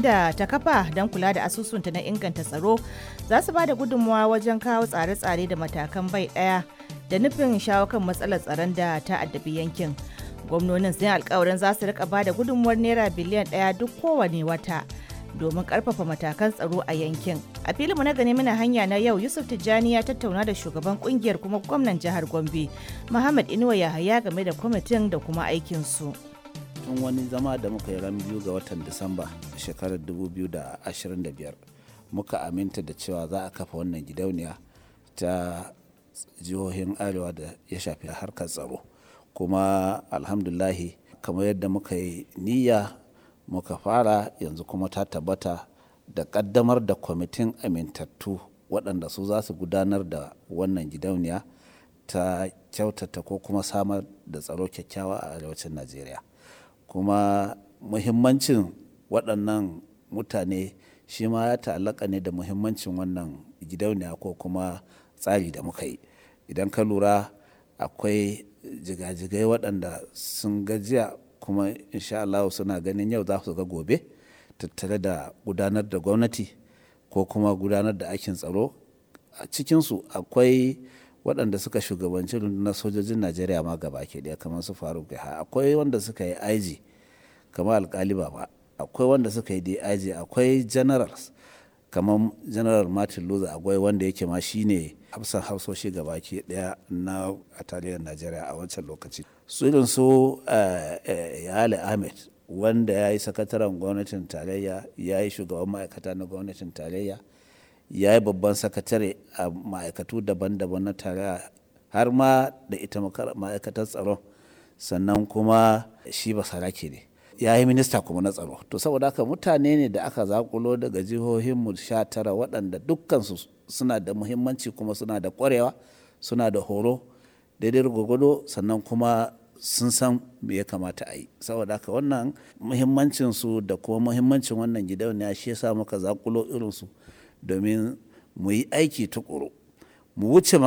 da ta kafa don kula da asusunta na inganta tsaro za su ba da gudunmawa wajen kawo tsare-tsare da matakan bai ɗaya da nufin shawo kan matsalar tsaron da ta addabi yankin. Gwamnonin sun yi alkawarin za su rika ba da gudunmuwar naira biliyan 1 duk kowane wata domin karfafa matakan tsaro a yankin. A filinmu na gani muna hanya na yau, Yusuf Tijjani ya tattauna da shugaban kungiyar kuma gwamnan jihar Gombe, Muhammad Inuwa Yahaya, game da kwamitin da kuma aikinsu. Tun wani zama da muka yi ran 2 ga watan Disamba shekarar 2025 muka aminta da cewa za a kafa wannan gidauniya ta jihohin Arewa da ya shafi harkar tsaro. Kuma alhamdulahi, kamar yadda muka yi niyya muka fara, yanzu kuma ta tabbata da kaddamar da kwamitin amintattu waɗanda su za su gudanar da wannan gidauniya ta kyautata ko kuma samar da tsaro kyakkyawa a arewacin Najeriya. Kuma muhimmancin waɗannan mutane shi ma ya ta'allaka ne da muhimmancin wannan gidauniya ko kuma tsari da muka yi. Idan ka lura, akwai jigajigai waɗanda sun gajiya kuma insha Allah suna ganin yau za su ga gobe tattare da gudanar da gwamnati ko kuma gudanar da aikin tsaro. A cikinsu akwai waɗanda suka shugabanci rundunar sojojin Najeriya ma gaba ke ɗaya, kamar su Faruk Yahaya. Akwai wanda suka yi IG kamar Alkali Baba, akwai wanda suka yi DIG, akwai generals kamar General Martin Luther Agwai, wanda yake ma shine hafsan hafsoshi gaba ke ɗaya na a tarihin Najeriya a wancan lokaci. Su irin su Yale Ahmed, wanda ya yi sakataren gwamnatin tarayya, ya yi shugaban ma'aikata na gwamnatin tarayya, ya yi babban sakatare a ma'aikatu daban-daban na tarayya, har ma da ita ma'aikatar tsaron. Sannan kuma shi basarake ne, ya yi minista kuma na tsaro. To saboda haka mutane ne da aka zakulo daga jihohinmu 19 waɗanda dukkansu suna da muhimmanci kuma suna da ƙwarewa, suna da horo daidai gwagwado, sannan kuma sun san me ya kamata a yi. Saboda haka wannan muhimmancinsu da kuma muhimmancin wannan gidauniya shi yasa muka zakulo irinsu domin mu yi aiki tukuru mu wuce.